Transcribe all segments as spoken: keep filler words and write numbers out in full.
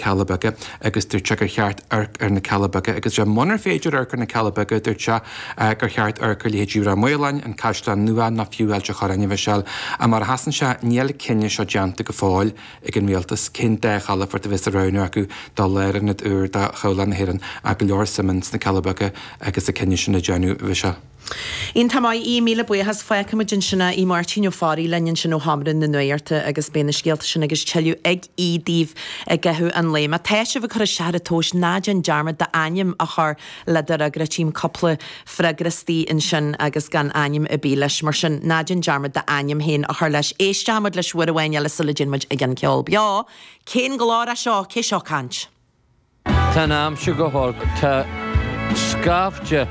Cealla Beaga agus dúirt sé gur cheart amharc ar na Cealla Beaga agus sé munar féidir amharc ar na Cealla Beaga dúirt sé gur cheart amharc ar leithéidí Ráth Maoláin, an Caisleán Nua nó fiú Ailt an Chorráin a Mhichelle. A mar a sheasann sé níl cinneadh seo déanta go fóill ag an rialtas cén dá chalafort a bheas á roghnú acu do lárionad úr do Chabhlach na hÉireann ach go leor suim sna Cealla Beaga agus an cinneadh sin a déanamh Mhichelle. Iontach maith í míle buíochas fágfaimid ansin í Máirtín Ó Fearraigh linn ansin ó Sheomra na Nuachta agus beidh na scéalta sin agus tuilleadh ag í daoibh i gcaitheamh an lae. Má tá sibh ag cur isteach ar an tomhas ná déan dearmad d'ainm a chur le do fhreagra tchím cúpla freagra istigh ansin agus gan ainm ar bith leis mar sin ná déan dearmad d'ainm féin a chur leis. Éisteoimid leis uair amháin eile sula dtéann muid ag an ceol beo. Cén glór é seo cé seo ag caint? Tá an aimsir go holc tá scaifte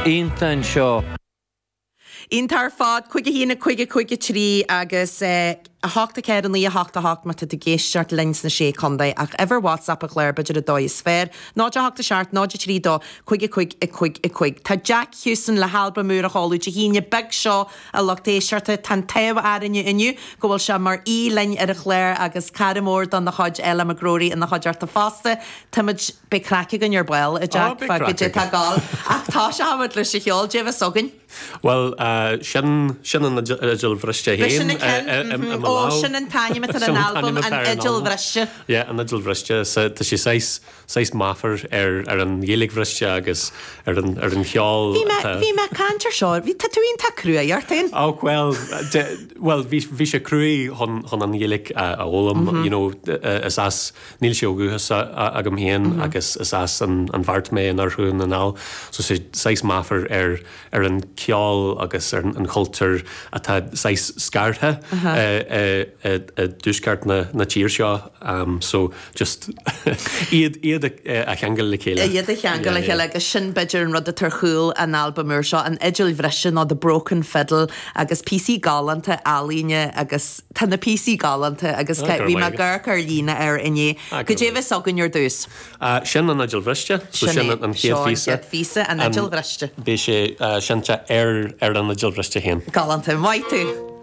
iontach anseo. Iontach ar fad cúig a haon cúig a cúig a trí agus eh, a hocht a ceathair naoi a hocht a hocht má tá tú ag éisteacht linn sna sé chontae ach uimhir WhatsApp an chláir b'fhéidir an dóigh is fearr, náid a hocht a seacht náid a trí dó cúig a cúig a cúig a cúig. Tá Jack Hewson le halbam úr a sheoladh Dé hAoine beag seo a lucht éisteachta tá an t-ádh orainne inniu go bhfuil sé mar aoi linn ar an chlár agus cara mór dona chuid eile McGrory ina chuideachta fosta. Táimid beidh craic againn ar ball a Jack beidh fá craic go tá gáil ach tá sé hamad leis an cheol Dé bheith againn. Well uh, sin sin an fhidil bhriste B'é sin féin an ceann, i- i- i mhm. mo Ó lámh. sin an t-ainm atá Sin an an albam t-ainm an atá ar an fhidil albam. bhriste. Yeah, an fhidil bhriste so tá sé saghas saghas meafar ar ar an Ghaeilge bhriste agus ar an ar an cheol Bhí mé atá- bhí mé caint ar seo, bhí tá tú iontach cruaidh ort féin. Ó well de, well bhí bhí sé cruaidh chun chun an Ghaeilge a a fhoghlaim mm -hmm. you know uh, is as níl sé ó dhúchas agam féin mm -hmm. agus is as an an Bheart mé in oirthear Dhún na nGall so sé saghas meafar ar ar an ceol agus ar an chultúr atá saghas scartha uh -huh. uh, uh, uh, dtuaisceart na, na tír seo um, so just iad iad a, a cheangal le chéile. Iad a cheangal le chéile agus sin b'fhéidir an rud atá ar chúl an albam úr seo an fhidil bhriste nó The Broken Fiddle agus píosaí galánta ealaíne agus tá na píosaí galánta agus Ah, bhí mé ag amharc ar líne ar inné. Go dé bheith againn ar dtús. Uh, sin an fhidil bhriste, so sin an chéad phíosa. phíosa an fhidil bhriste. Beidh sé uh, seinnte ar ar an fhidil bhriste féin. Galánta maith tú.